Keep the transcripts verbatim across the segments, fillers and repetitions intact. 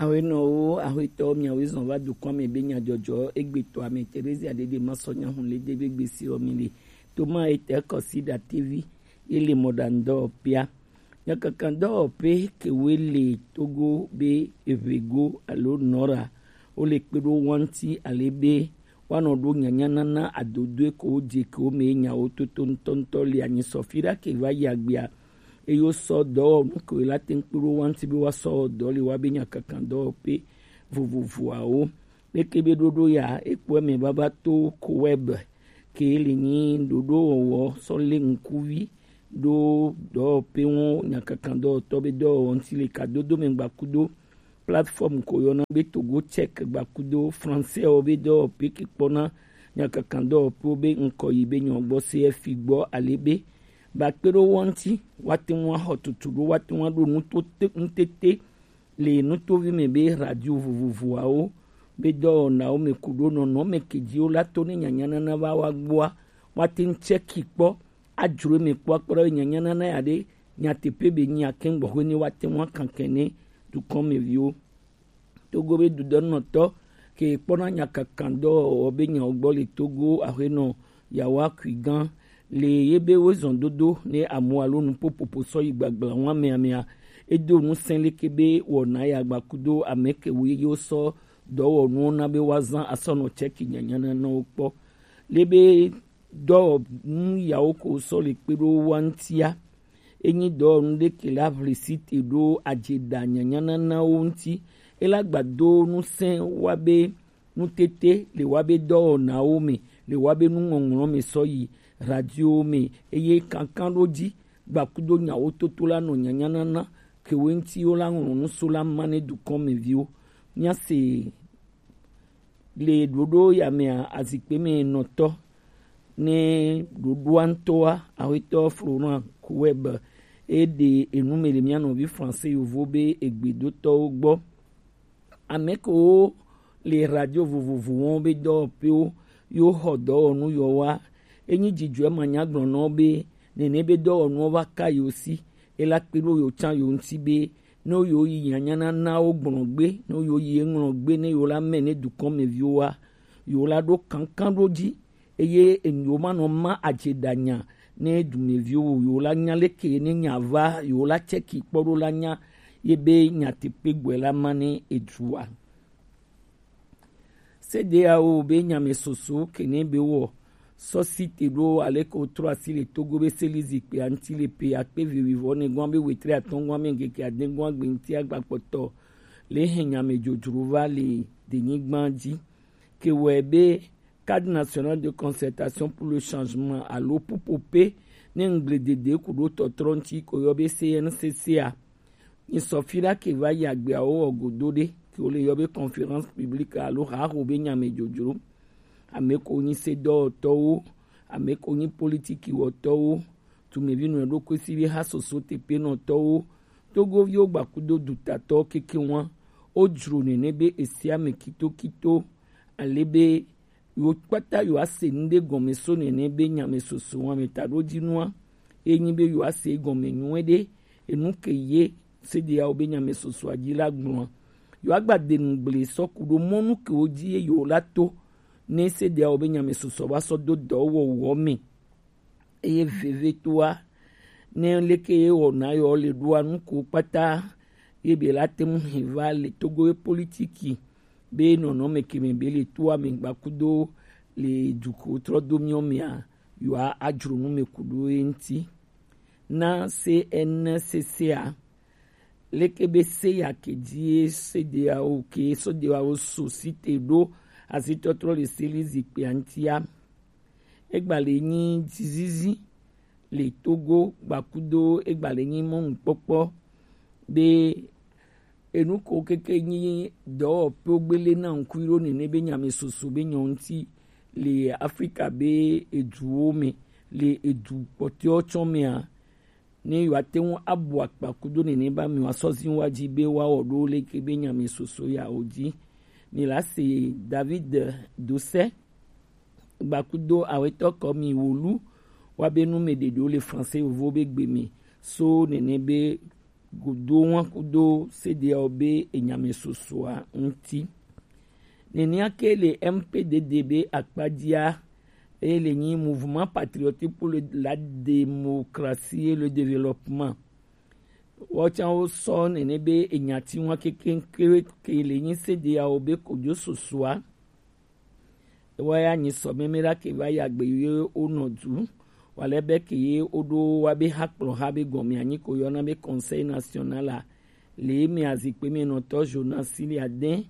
Awenɔwo, ahwetɔ, miawe zɔn va dukɔn me be nyajɔjɔ egbetɔ ame Terezia dede masɔ nyahun le debe gbesi ɔ mi le. Toma etɛ kɔsi datevi ye le mɔɖaŋudɔwɔƒea. Nyakakadɔwɔƒe kewe le Togo be Eʋego alo Nɔra, wo le kpe ɖo wanti ale be woanɔ ɖo nyanyanana adodoe ko wo je ke wo me nyawo toto ŋutɔŋutɔ le anyi sɔfi ɖa ke va yi agbea. Eye wosɔ dɔwɔnu kewo la te ŋu kpe ɖo wa ŋuti be woasɔ wɔ dɔ le woabe nyakakadɔwɔƒe vovovoawo. Leke be ɖoɖo ya ekpɔe me vava to Koweb ke le nyi ɖoɖowɔwɔ sɔ lé ŋkuvi ɖo dɔwɔƒe ŋu nyakakadɔwɔtɔ be dɔwɔwɔ ŋuti le kadodo me gbakudo plateforme ko yɔna be Togo Tchèque gbakudo français wo be dɔwɔƒe ke kpɔna nyakakadɔwɔƒewo be ŋkɔ yi be nyɔ gbɔ C F I gbɔ ale be ba kpe ɖo wo ŋuti woate ŋu axɔ tutu ɖo woate ŋu aɖo nuto te- ŋutete le nutovi me be radio vovovoawo be dɔwɔnawo me ku ɖo nɔnɔme ke dzi wo la to ne nyanyanana va wa gbɔa woate ŋu tsɛki kpɔ adzro eme kpɔ akpɔ ɖa be nyanyanana ya ɖe nyateƒe be nyi ake gbɔxwe ne woate ŋu akankɛ ne dukɔmeviwo. Togo be dudɔnɔtɔ ke kpɔna nyakakadɔwɔwɔ be nyawo gbɔ le Togo aƒenɔ Yawa Kui gã le ye be wezɔn dodo ne amu alo nuƒoƒoƒo sɔ yi gbagbla ŋu amea mea, edo ŋusẽ leke be wɔna ya gbakudo ame ke wo ye wosɔ dɔwɔnuwo na be woazã asɔ nɔ tsɛki nyanyananawo kpɔ. Le be dɔwɔnu yawo ko sɔ le kpe ɖo wa ŋutia, enyi dɔwɔnu ɖe ke la ʋli si te ɖo adzeɖa nyanyananawo ŋuti. Ela gbado ŋusẽ wa be nutete le wa be dɔwɔnawo me, le wa be nuŋɔŋlɔ me sɔ yi radio me, eye kankan ɖo dzi gbakudo nyawo toto la nɔ nyanyanana kewe ŋuti wo la ŋlɔ nu so la ma ne dukɔ me viwo. Míase le ɖoɖo ya mea azikpe me nɔtɔ ne ɖoɖoa ŋutɔa, Aƒetɔ Florent Koueb, eɖe enu me le mía nɔvi français yovo be egbedotɔwo gbɔ. Ame kewo le radio vovovowo be dɔwɔƒewo yewo xɔ dɔwɔnu yɔwoa, enyi dzidzɔe manyagblɔnɔwo be nene be dɔwɔnuwo va ka yewo si, ela kpe ɖo yewo tsã yewo ŋuti be ne yewo yi nyanyananawo gblɔ gbe, ne yewo yi eŋlɔ gbe ne yewo la mɛ ne dukɔmeviwoa, yewo la ɖo kankan ɖo dzi eye yewo manɔ ma adzeɖanya ne dumeviwo yewo la nya leke ne nya va yewo la tsɛki kpɔ ɖo la nya ye be nyateƒe gbɔe la ma ne edua. Sedeawo be nyame soso kene be wɔ sɔsi te ɖo aleke wotrɔ asi le Togo be seli zikpui aŋuti le pe akpe vivi vɔ ne gɔn be wetri atɔn gɔn me ŋkeke ade gɔn agbe ŋuti agba kpɔtɔ le hɛn nyame dzodzro va le denyigba dzi. Ke wɔe be Cadre National de Concertation pour le Changement alo pupope ne ŋgble dede ku ɖo tɔtrɔ ŋuti ko yɔ be C N C C a. Nyisɔ fi ɖa ke va yi agbeawo wɔ godo ɖe ke wole yɔ be conférence publique alo haho be nyame dzodzro. Ame ko nyi sedɔwɔtɔwo, ame ko nyi politiki wɔtɔwo, tumevi nɔ ɖokui si be ha soso tepenɔtɔwo, togoviwo gbakudo dutatɔwo keke ŋua, wodzro nene be esi ame kitokito, ale be yewo kpata yewoase nu ɖe gɔme so nene be nyame soso wɔme taɖodzinua, ye nyi be yewoase gɔme nyuie ɖe enu ke ye sedeawo be nyame sosoa dzi la gblɔa. Yewoagba de nu gble sɔ ku ɖo mɔnu kewo dzi ye yewo la to ne sedeawo be nyame sosoa va sɔ do dɔwɔwɔ me. Eye vevetoa, ne leke ye wɔna yɔ le ɖoa nu ko kpata ye be la te ŋu hɛn va le Togo ye politiki be nɔnɔme ke me be le toa me gbakudo le duko trɔ do miɔ mea, yewoa adzro nu me ku ɖo ye ŋuti. Na C N C C a, leke be se ya ke dzi ye sedeawo ke sedeawo so si te ɖo azitɔtrɔ le seli zikpia ŋutia. Egba le nyi dzizizi le Togo gbakudo egba le nyi mɔnukpɔkpɔ be enu ko keke nyi dɔwɔƒewo gbele na ŋkui ɖo nene be nyame soso be nyɔ ŋuti le Afrika be eduwo me le edu kpɔtɔewo tsɔ mea, ne yewoate ŋu abu akpa kudo nene be amewo asɔ zi wa dzi be woawɔ ɖo leke be nyame soso ya wo dzi. Mi la se David Dosɛ gbakudo awetɔ kɔ mi wolu wa be nu me ɖeɖewo le français yovo be gbe me so nene be godo wan kudo C D A O be enyamɛsosoa ŋuti. Nenea ke le M P D D be akpajia, eye le nyi Mouvement Patriotique pour le- la Démocratie et le Développement. Wɔtsan wo sɔ nene be enyati wan kekeŋ ke le nyi C D A O be kojo sosoa. Ewa ya nyi sɔ mɛmɛ ɖa ke va ya gbe ye wo nɔ du. Wa lɛ bɛ ke ye wo ɖo wa be ha kplɔ ha be gɔmɛ anyi ko yɔna be Conseil National a. Le mɛ azikpe mɛ nɔtɔ Jonas Sili Adin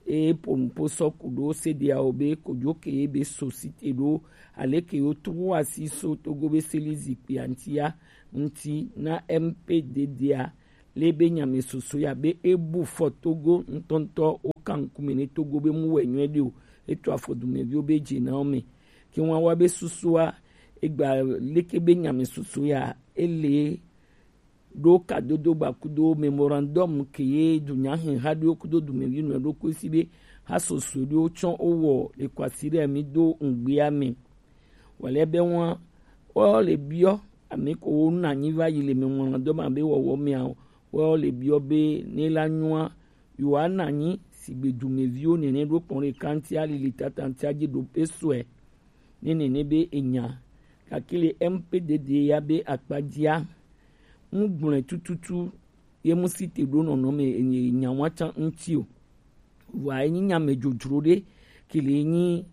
e po nupo sɔ ku ɖo C D A O be kojo ke ye be société ɖo ale ke yo tro asi so Togo be seli zikpe antia ŋuti na M P D D a le be nyamɛsoso ya be e bu fɔ Togo ŋutɔŋutɔ wo kan ŋkume ne Togo be mu wɛ nyuie ɖe o, e to afɔ dumeviwo be dze na wo me. Ke wan wa be susua e gba leke be nyamɛsoso ya e le ɖo kadodo gba kudo memorandum ke ye dunya hɛn ha ɖo kudo dumevi nɔ ɖo ko si be ha soso ɖo tsɔ wo wɔ le kwasi ɖe mi do ŋgbea me. Wale be wan wo le biɔ ame ko wo na nyi va yi le memorandum be wɔwɔ mea wo le biɔ be ne la nyua yo ana nyi sigbe dumeviwo nene ɖo kpɔn ɖe kantia lili tatantia dzi ɖo pe sɔe ne nene be enya kakele M P D D ya be akpajia ŋu gblɔe tututu ye mu si te ɖo nɔnɔme enya wa tsan ŋuti o. Vɔa enyi nyame dzodzro ɖe ke le nyi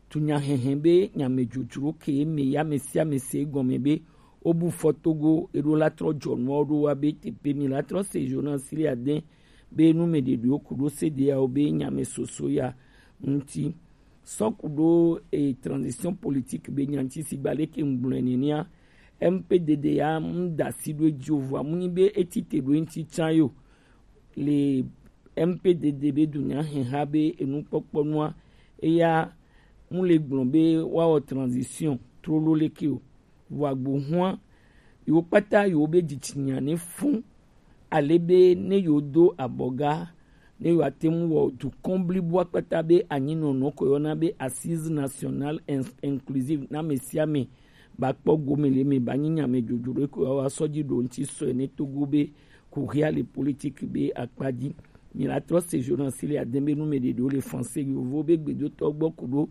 tunyahehe be nyame dzodzro ke me ya me sia me se gɔme be wobu fɔ Togo eɖo la trɔ dzɔnuawo ɖo wa be tepe mi la trɔ se Jonas Sili Adin be nu me ɖeɖewo ku ɖo se ɖeawo be nyame soso ya ŋuti. Sɔ ku ɖo e transition politique be nyanti si gba leke ŋgblɔe nenea M P D D ya mu da si ɖo edzi o vɔa mu nyi be eti te ɖo eŋuti tsan yo le M P D D be dunya hɛha be enukpɔkpɔ nua eya mu le gblɔ be woawɔ transition trolo leke o. Vɔa gbo hua yewo kpata yewo be dzitsinya ne fun ale be ne yewo do abɔga ne yewo ate ŋu wɔ dukɔn blibo akpata be anyinɔnɔ ko yɔna be assise nationale in- inclusive na ame sia ame ba kpɔ gome le me ba nyi nyame dzodzro ɖe ko wa sɔ dzi ɖo ŋuti sɔe ne Togo be kuhia le politique be akpa dzi. Mi la trɔ se journaliste le adin be nu me ɖeɖewo le français yovo be gbedotɔ gbɔ ku ɖo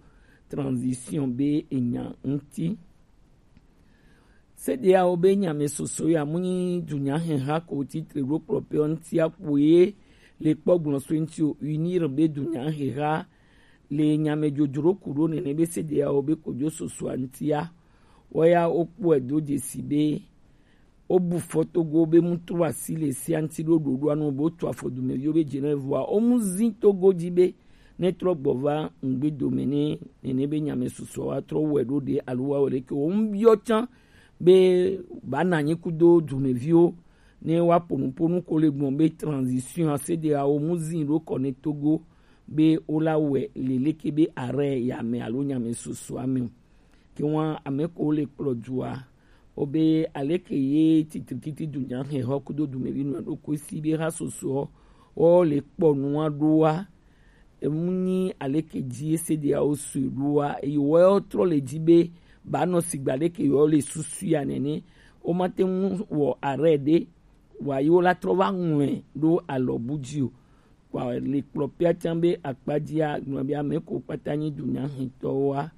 transition be enya ŋuti. Se ɖeawo be nyame soso ya mu nyi dunya heha ko titre ɖo kplɔ pe ŋuti akpo ye le kpɔ gblɔ so ŋuti o unir be dunya heha le nyame dzodzro ku ɖo nene be se ɖeawo be kodzo sosoa ŋutia. Woya wokpɔe do dzesi be wobu fɔ Togo be mu tro asi le sia ŋuti ɖo ɖoɖoa nu be wotu afɔ dumeviwo be dze na vɔa womu zi Togo dzi be ne trɔ gbɔ va ŋgbe dome ne nene be nyame susɔ wa trɔ wɔe ɖo ɖe alo wa wɔe ɖe ke wo ŋu biɔ tsã be ba na anyi kudo dumeviwo ne wa ponuponu ko le gbɔn be transition a se ɖe awo mu zi ɖo kɔ ne Togo be wo la wɔe le leke be arrêt ya me alo nyame susɔ a me o. Ke wan ame ko le kplɔ dua wo be aleke ye titrikiti dunya he hɔ kudo dumevi nua ɖo ko si be ha soso wo le kpɔ nua ɖoa emu nyi aleke dzi ese ɖeawo sue ɖoa eye woawo trɔ le dzi be ba nɔ sigba ɖeke yewo le susu ya nene womate ŋu wɔ arrêt ɖe wa yewo la trɔ va ŋlɔe ɖo alɔbu dzi o. Wa le kplɔ pia tsã be akpadzia gblɔ be ame ko kpata nyi dunyahetɔwoa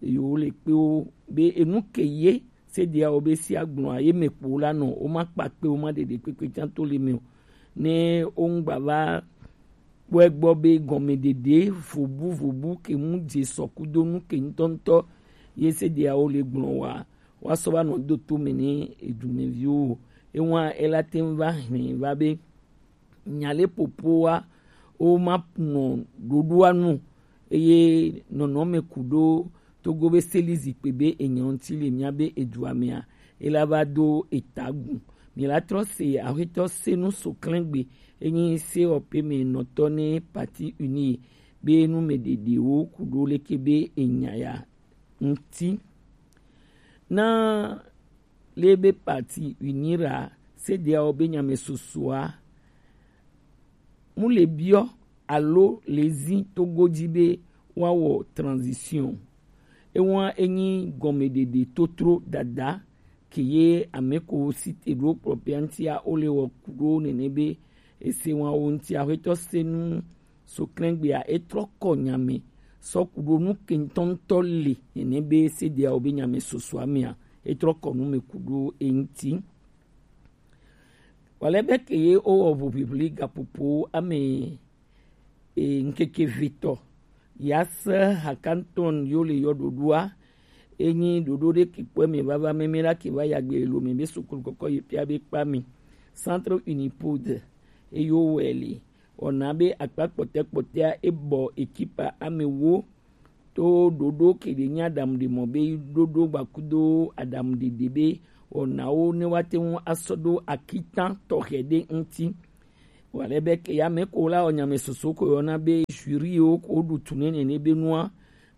yewo le kpe wo be enu ke ye se ɖeawo be si agblɔa ye me kpo la nɔ woma kpa kpe woma ɖeɖe kpekpe tsã to le me o. Ne wo ŋgba va kpɔe gbɔ be gɔmeɖeɖe vobu vobu ke mu dze sɔ kudo nu ke ŋutɔŋutɔ ye se ɖeawo le gblɔ wa woasɔ va nɔ do to me ne edumeviwo o. Ewa ela te ŋu va hlẽ va be nya le popoa woma nɔ ɖoɖoa nu eye nɔnɔme ku ɖo Togo be seli zikpe be enya ŋuti le mía be edua mea ela va do eta gu. Mi la trɔ se ahwetɔ se nu so klɛngbe enyi se ɔpe me nɔtɔ ne Parti Uni be nu me ɖeɖewo ku ɖo leke be enya ya ŋuti. Na le be Parti Uni ra se ɖeawo be nyame sosoa mu le biɔ alo le zi Togo dzi be woawɔ transition. Ewa enyi gɔmeɖeɖe totro dada ke ye ame ko si te ɖo kplɔ pia ŋutia, wo le wɔ ku ɖo nene be ese wa wo ŋutia, xwetɔ se nu so klɛngbea, e trɔ kɔ nya me sɔ ku ɖo nu ke ŋutɔŋutɔ le nene be sedeawo be nya me sosoa mea, e trɔ kɔ nu me ku ɖo e ŋuti. Wale be ke ye wo wɔ ʋuʋiʋli gaƒoƒo ame e, ŋkeke vetɔ. Yase hakantɔn yo le yɔ ɖoɖoa. Enyi ɖoɖo ɖe kikpɔe me vava meme la ke va yagbe lo me be sukulu kɔkɔ yi pia be kpa mi. Centre Unipod eyo wɛli. Ona be akpa kpɔtɛ kpɔtɛa ebɔ ekipa ame wo to ɖoɖo ke ɖe nya ɖam ɖe mɔ be ɖoɖo gbakudo aɖam ɖeɖe be ona wo ne wa te ŋu asɔ ɖo akitan tɔxɛ ɖe ŋuti. Wale be ke ya me ko la o nya me soso ko yɔ na be jury wo ko ɖu tu ne nene be nua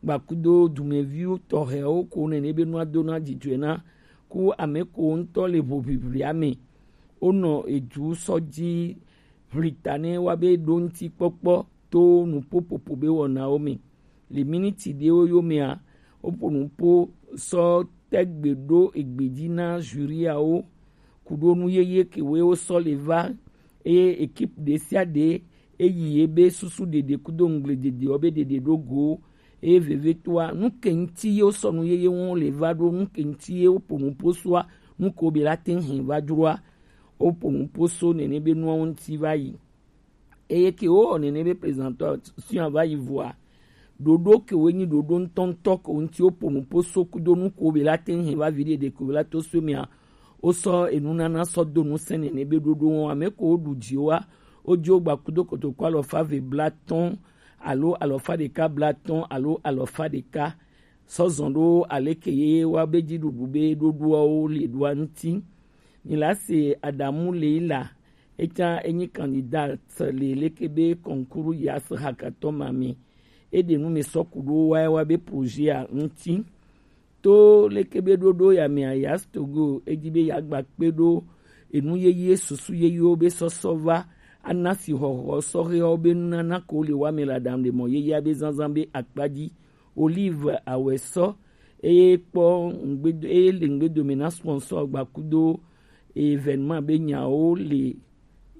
gbakudo dumeviwo tɔxɛwo ko nene be nua do na dzidzɔe na ku ame ko ŋutɔ le ʋuʋiʋlia me. Wonɔ edu sɔ dzi ʋlita ne wa be ɖo ŋuti kpɔkpɔ to nuƒoƒoƒo be wɔnawo me. Le miniti ɖewo yomea, woƒo nuƒo sɔ tegbe ɖo egbe dzi na juriawo ku ɖo nu yeye kewoe wosɔ le va, eye ekipe ɖe sia ɖe eyi ye be susu ɖeɖe kudo ŋugble ɖeɖewo be ɖeɖe ɖo go, eye vevetoa nu ke ŋuti ye wosɔ nu yeye wɔn le va ɖo, nu ke ŋuti ye woƒo nuƒo soa, nu ke wobe la te ŋu hɛn va dzroa, woƒo nuƒo so nene be nuawo ŋuti va yi. Eye ke wowɔ nene be présentation va yi vɔa, ɖoɖo ke wo nyi ɖoɖo ŋutɔŋutɔ ke wo ŋuti woƒo nuƒo so kudo nu ko be la te ŋu hɛn va vi ɖeɖe ko be la to so mea, wosɔ enunana sɔ do ŋusẽ nene be ɖoɖo wɔn ame ko woɖu dziwoa, wodzo gba kudo kotoko alɔfa ve blatɔn alo alɔfa ɖeka blatɔn alo alɔfa ɖeka sɔ zɔn ɖo aleke ye wa be dziɖuɖu be ɖoɖoawo le ɖoa ŋuti. Ni la se Adamu Leila, etsã enyi candidat le leke be concours Yas Hackathon ma me. Eɖe nu me sɔ ku ɖo wa wa be projet a ŋuti. To leke be ɖoɖo ya me a Yas Togo, edi be ya gba kpe ɖo enu yeye susu yeyewo be sɔsɔ va ana si xɔxɔ sɔxewo be nunana ko le wa me la dam ɖe mɔ yeyea be zanzan be akpa dzi. Olive Awesɔ, eye kpɔ ŋgbedo, eye le ŋgbedome na sponsor gbakudo événement be nyawo le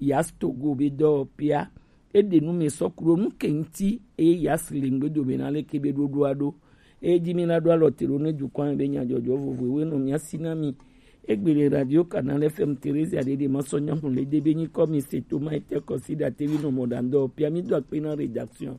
Yas Togo be dɔwɔƒea. Eɖe nu me sɔ ku ɖo nu ke ŋuti eye Yas le ŋgbedome na leke be ɖoɖoa ɖo. Eye dzi mi la ɖo alɔ te ɖo ne dukɔa me be nyadzɔdzɔ vovovowo nɔ mia si na mi. Egbe le Radio Canal F M Theresia ɖeɖe ma sɔ nyamu le de be nyikɔ mi se to ma ete kɔ si ɖa te vi nɔ mɔ ɖa ŋdɔ pia mi do akpe na rédaction.